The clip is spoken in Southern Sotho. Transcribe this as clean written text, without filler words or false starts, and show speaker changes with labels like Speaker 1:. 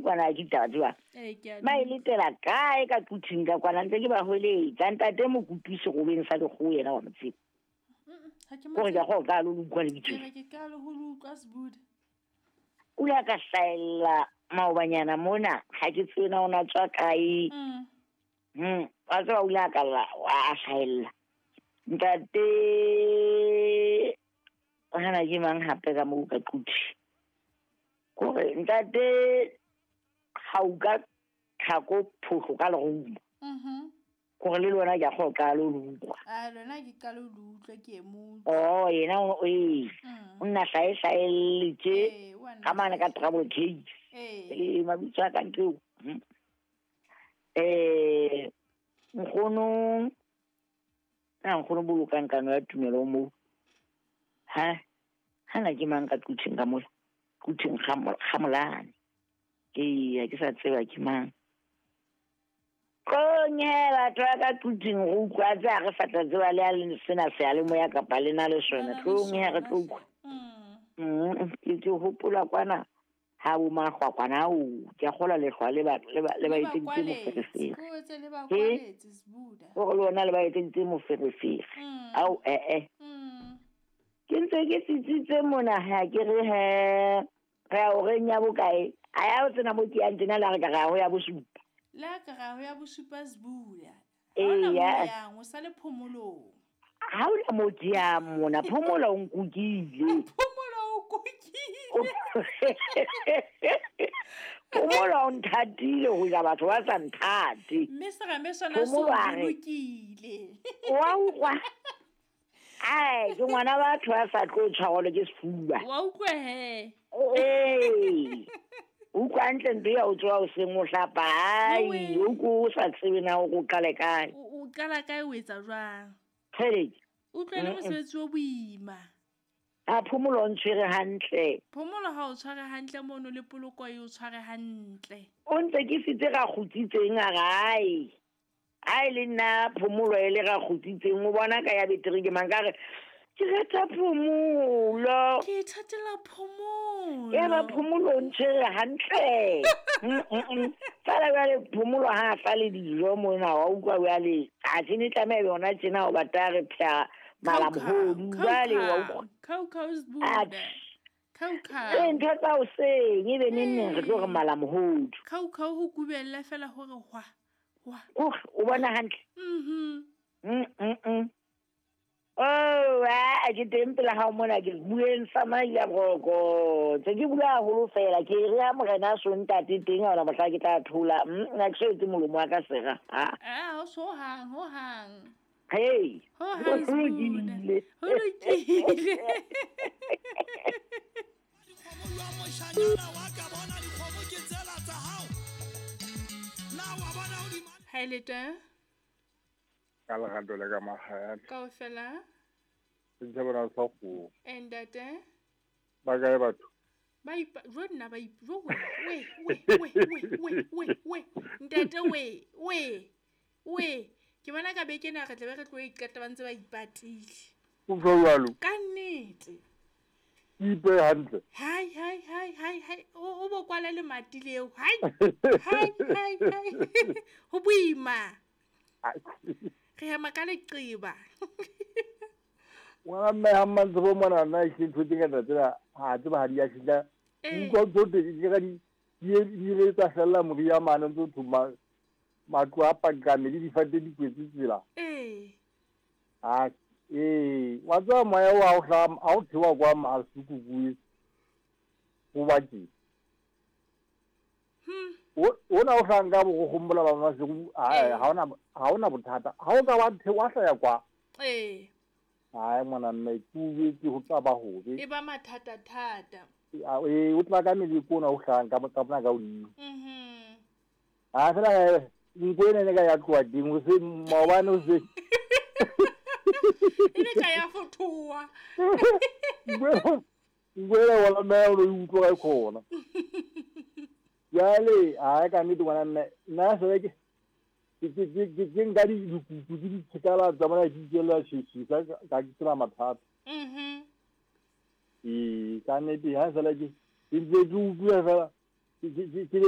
Speaker 1: utlwa na ke ditaba tseba ba e letela kae ka quthing ka kwana ntse ke ba hweletsa ntate Mokopi serobeng sa lekgowa yena wa motseba gore ke go ka lo utlwa lebitso o ile a ka hlaella maobanyana mona ga ke tsena o na tswa kae wa tseba o ile a ka a hlaella ntate gana ke mang gape ka mo ka quthi kore ntate ga o ka tlhako phoso ka lerumo gore le lona ke a go ka lo utlwa
Speaker 2: a lona ke ka lo utlwa ke mo
Speaker 1: oh yena o e o nna hlaehlaeletse ka mane ka trouble case ee mabitso a ka ntlo nkgono a nkgono bolokang kano ya tumelo mo ha hana ke mang ka quthing ka mola quthing ga molane ee ke sa tseba ke mang konye batho ba ka quthing go utlwa tse a re sa tla tseba le a le sena seyalemoya kapa le na le sona tlong re tlo utlwa ke hopola kwana ha bo magwakwana ao ke a gola lehlwa le ba etseditse moferefere gore le ona le ba etseditse moferefere ao ke ntse ke tsitsitse mona ha ke re he re a o reng ya bokae a ya o tsena mo ke yang tena la re ka ga ho ya bosupa
Speaker 2: la ka ga ho ya bosupa Sbuda ha o sa le phomolong
Speaker 1: ha o la mo ke ya mona phomola o nkukile
Speaker 2: phomola o kukile
Speaker 1: phomola o nthatile go ja batho ba sa nthate
Speaker 2: mme serame sona se bolokile
Speaker 1: wa utlwa ai ke ngwana batho ba sa tlo tshwarwa ke sefuba
Speaker 2: wa utlwa he
Speaker 1: ee utlwa ntle ntho ya o tsoa o seng o hlapa ai o ko sa tsebe na o qale kae
Speaker 2: o qala kae o etsa jwang
Speaker 1: utlwa
Speaker 2: le mosebetsi o boima
Speaker 1: a phomolo o ntshwere hantle
Speaker 2: phomolo ha o tshware hantle mono le poloko e o tshware hantle
Speaker 1: o ntse ke sitse ra kgutsitseng a gae a e le nna phomolo e le ra kgutsitseng o bona ka ya betere ke mang ka re ke rata phomolo
Speaker 2: ke ithatela phomolo
Speaker 1: ya ba phomolo o ntshwere hantle fela jwale phomolo ha a fa le dijo mona wa utlwa jwale a tsene tlameha yona tjena o batla re phea malamohodu jwale wa utlwa
Speaker 2: khau
Speaker 1: ntho tsa hoseng e be neng re tlo re malamohodu
Speaker 2: khau ho kubella fela hore hwa hwa
Speaker 1: o bona hantle oh a ke teng pela hao mona ke bueng sa maila broko tse ke bua haholo fela ke re ha morena so ntate teng ha ona mohla ke tla thola nna ke so etse molomo wa ka sera
Speaker 2: ha a so hang ho hang
Speaker 1: hey
Speaker 2: ho hang ho lokile ha le teng
Speaker 3: ka lerato le ka mahayana
Speaker 2: kaofela
Speaker 3: ntse bona sa go
Speaker 2: ntate
Speaker 3: ba kae batho
Speaker 2: ba ipa jo nna ba ipa jo we we we we we we ntate we we we ke bona ka beke na re tle be re tlo iqeta ba ntse ba ipatile
Speaker 3: o jwalo
Speaker 2: ka nnete
Speaker 3: ipe hantle
Speaker 2: hai hai hai hai hai o bo kwala le mati leo hai hai hai hai ho boima re hema ka leqiba
Speaker 3: ngwana mme ha mmantsebo mona nna e ntho tse ngata tsena ha tseba ha di a fihla utlwa tsote ke ka di ile tsa fella moria mane ntse thuma matlo a pakame le difate di kwetse tsela
Speaker 2: ee
Speaker 3: a ee wa tswa moya wa o hla a o thewa kwa masuku kuwe go ba ke ona o hlang ka bo go gombola ba masego ha ona bothata ha o ka wa thewa hlaya kwa
Speaker 2: ee
Speaker 3: ai ngwana mme ke ke ho tla ba hobe
Speaker 2: e ba mathata thata
Speaker 3: ee o tla ka meleko ona o hlang ka bona ka hodimo a fela nko ena ne ka ya tloha teng o se maobane o se
Speaker 2: e ne ka ya fothoa
Speaker 3: nko ena wala mme o utlwa ka khona jwale a ka nnete ngwana mme nna se ke ke nka dikuku di ditshekala tsa bona di ikela shishisa ka ke tsela mathata ee ka nnete ha sala ke ntse ke utlwa fela ke